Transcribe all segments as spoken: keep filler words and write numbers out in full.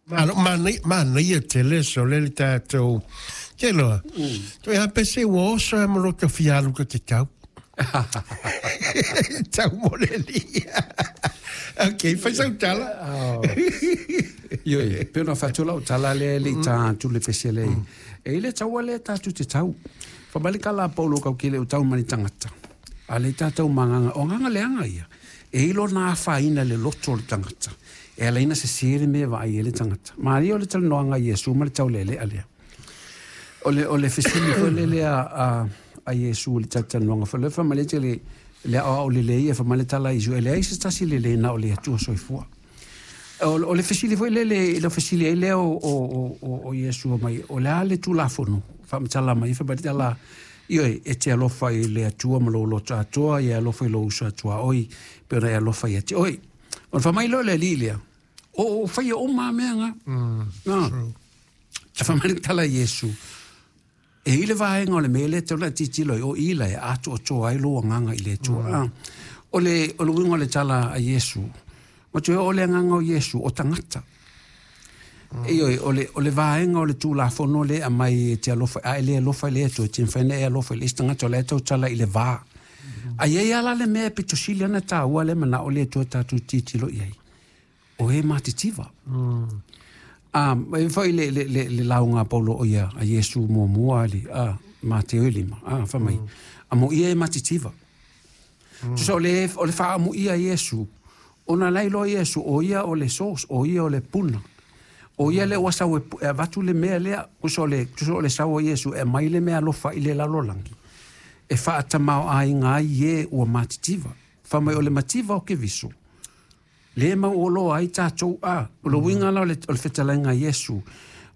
Malo manaia manaia tele sole le tatou te loa. Toe a pese ua oso e mo loto fialu ka te tau. Tau mo le lia. Ok, fai sau tala. Ioe, pe ona fatu lau tala le le ta atu le pese le. E ile taua le tatu te tau. Fa mali kala paulo kau kele o tau mani tangata. A le tātou manganga, o nganga leanga ia. E ilo nā whaina le loto o le tangata. E ala ina se sere me vai e le tangata. Maria o le talanoaga Iesu ma le taulele alea. O le, o le fesili foi le lea a, a Iesu le talanoaga foi le fa male le le a o le le ia fa male tala Iesu e leai se tasi le le na o le Atua soifua. O, o le fesili foi le le le fesili ai lea o o o o Iesu mai o le a le Tulafono faamatala mai fa male tala ioe e te alofa i le Atua ma lou loto atoa ia alofa i lou uso atoa oi pe ona e alofa ia te oi. O le faamai loa le alii lea o o faia uma mea nga. Mm. A faamai tala Iesu e i le vaega o le mea lea tau la titilo i o ila e atu o toa ai lo agaga i le Atua. Mm. O le o le uiga o le tala a Iesu ma toe o le agaga o Iesu o tagata. Mm. Ioe o le o le vaega o le Tulafono le aumai e te alofa a e le alofa i le Atua e te mafai ona e alofa i le isi tagata o la e tautala i le va. A iai ala le mea pito sili ana tāua le mana o le Atua tātou titilo i ai. O e matitiva. Mm. Um, e foi le, le, le, le lauga paulo o ia a Iesu muamua ali a Mateo e lima. A, fa mai. Mm. A mo ia e matitiva. Mm. Tusa o le, o le whaamu ia Iesu, ona lai loa Iesu, o ia o le source, o ia o le puna. O ia le ua sau e, e avatu le mea lea, tusa o le, tusa o le sau o Iesu, e mai le mea alofa i le lalolagi. E whaatamao ai ngā i e ua matitiva. Fa mai o le mativa o ke viso. Le mau o loa ai tātou a. O le uiga la o le, o le fetalaiga Iesu.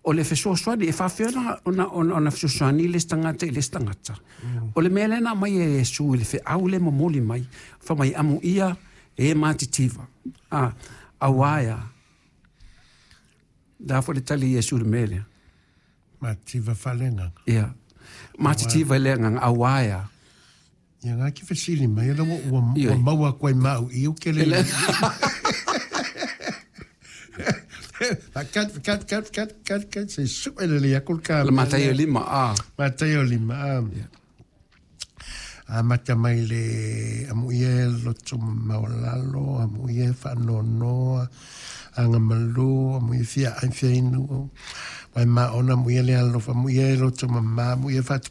O le fesoasoani, e faafefea ona, ona, ona, ona fesoasoani le isi tagata i le isi tagata. O le mea lea na aumai e Iesu i le feau le momoli mai. Fa mai amu ia e matitiva. A, auā ea. Da fo le tali Iesu le mea lea. Mativa faaleagaga. Ia. Matitiva i le agaga, auā ea. Ia ngā ki fesili mai, ua, ua, Ioe. ua maua koe mau i o ke le. Kat, kat, kat, kat, kat, kat, se su ele le aku ka. Le Mataio lima, a. Mataio lima, a. A mata mai le amu ia loto mawalalo, amu ia whaanonoa, anga malu, amu ia fia ai fia inu, wai ma ona amu ia le alofa, amu ia loto mama, amu ia whatu